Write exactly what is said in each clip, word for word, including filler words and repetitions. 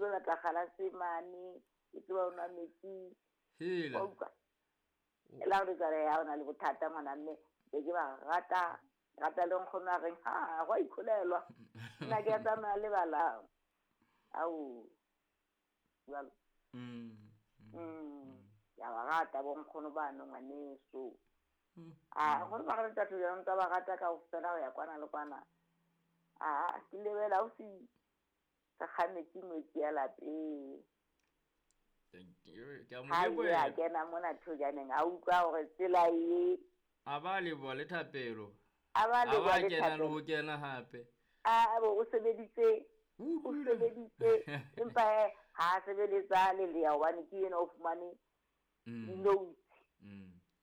tlo lata galase mane ke tseba o nwa metsi hela la re tsare ya ona le bothata ngwana mme be ke ba rata rata le nkgono a reng ha go ikholelwa nna ke tsamaya le bala au jalo mm mm ya ba rata bo nkgono ba no ngwaneso a go ba re tatho ya ntse ba rata ka ofela ho ya kwana le kwana a ke lebela o si ka kgametsi metsi ya lapeng ke a mo leboha ha kena mona thojaneng a utlwa hore tsela e a ba leboha le thapelo a ba leboha le kena le ho kena hape a bo o sebeditse o sebeditse empa ha sebeletsa le le ya hobane ke yena o fumane dinotes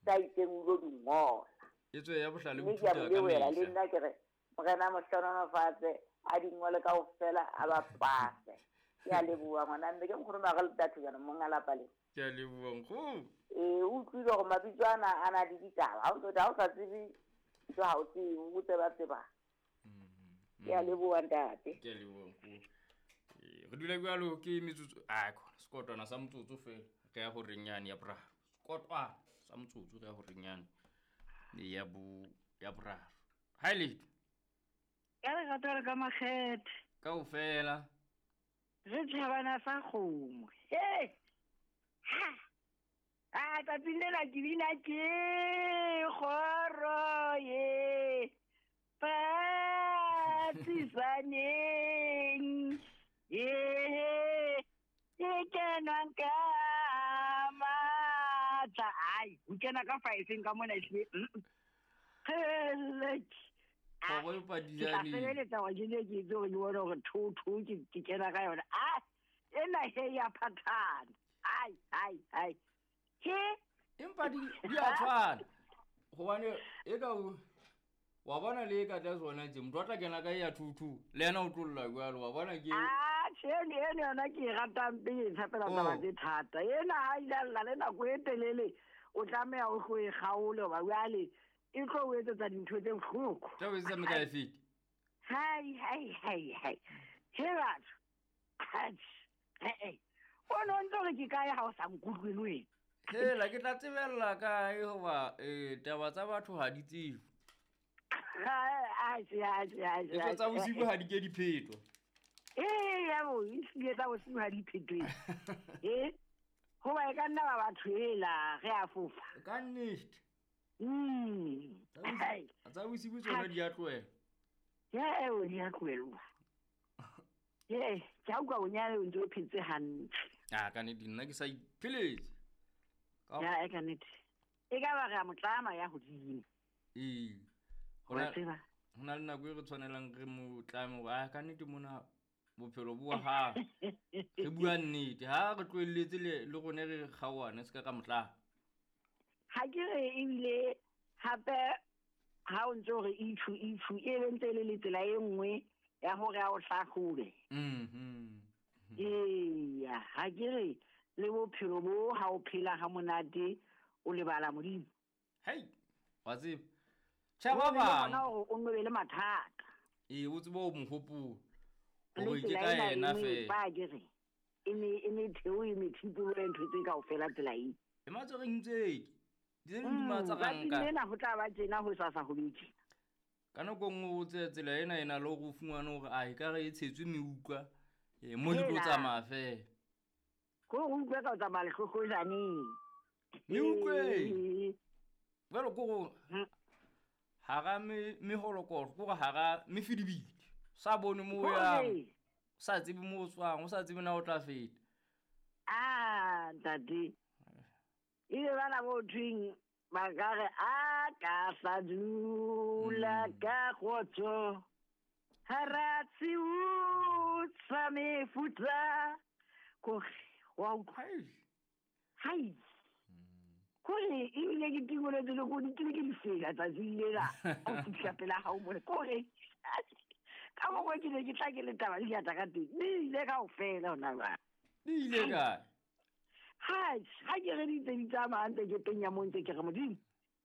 tsa itseng o lo di ngola e tswe ya bohlale o ithuta ka mehla le nna ke re morena mohlononofatse a di ngole kaofela a ba pase ke a leboha ngwana mme ke nkgono ba re le jaanong monga lapa le ke a leboha nkgono ee o utlwile hore mabitso ana a na le ditaba ha o ntse ha o sa tsebe ntho ha o tsebe o tseba tseba ke a leboha ntate ke a leboha nkgono re dula jwalo ke metsotso a khona sekotwana sa motsotso fela re ya horeng yane ya boraro sekotwana sa motsotso re ya horeng yane ya bo ya boraro ha ile ka re rata ka makgethe kaofela re tjhabana sa kgomo he ha a tsatsing lena ke bina ke kgoro ye patisaneng ye e kenwang ka matla ai o kena ka five ka mona ehlile kgoro e ke sebeletsa hore ke ne ke itse hore ke bone hore two two ke ke kena ka yona a ena he ya phathana ai ai ai he empa di di a tshwana hobane e ka wa bona le ka tla tsona tse motho a tla kena ka ya two two le yena o tlolla jwalo wa bona ke a tjhe ene yona ke e ratang pele e tshepela taba tse thata ena ha ile lla le nako e telele o tlameha o tlo e kgaole hoba jwale e tlo o etsetsa dintho tse bohloko tla o etsetsa mekae fete hai hai hai hai he batho he o no ntse re ke kae ha o sa nkutlwe le wena hela ke tla tsebella kae hoba eh taba tsa batho ha di tsebe e tsa bosibu ha di ke diphetwa ee ya bo ehlile tsa bosibu ha di phetwe e hoba e ka nna ba batho ela re a fofa ka nnete mm tsa bosibu tsona di a tlohela ya eo di a tlohelwa ee ke a utlwa bonyane o ntse o phetse hantle a ka nnete nna ke sa ipheletse ya e ka nnete e ka ba re a motlama ya hodimo ee ho na le nako e re tshwanelang re mo tlame hore a ka nnete mona bophelo bo ha re bua nnete ha re tlohelletse le le rone re kgaohane se ka ka motlama ha ke re ebile hape ha o ntse hore ithu ithu e be ntse le tsela e nngwe ya hore a o hlahlobe mhm eya ha ke re le bophelo bo ha o phela ha monate o lebala Modimo hei wa tseba tjha ba bang o nnobe le mathata ee o tsebe o mohopolo hore ke ka yena fela ba ke re e ne e ne theo e methipolo e ntho tse kaofela tsela e e matsoreng tse di ne di matsaranka lena ho tla ba tjena ho sasa ho beke ka nako nngwe o tse tsela ena ena le hore o fumane hore a e ka re e tshetswe meutlwa e mo di tlo tsamaya fela ko go utlwa ka o tsamaya lehlohlojaneng meutlwe jwalo ko go hara meholokolo ko hara mefidibidi sa bone mo yang sa tsebe mo o tswang o sa tsebe na o tla feta ah ntate ile bana bo thweng ba ka re a ka sa dula ka kgotso hara tshiu tsa mefuta kore wa utlwa hai kore ebile ke tingoletse le ko di ke lefela tsatsing lela o fitlha pela hao mole kore ka mokgwa ke ne ke tla ke le taba di ata ka teng di ile kaofela hona jwale di ile kae ha ha ke re di ntse di tsamaya ntse ke penya mo ntse ke re Modimo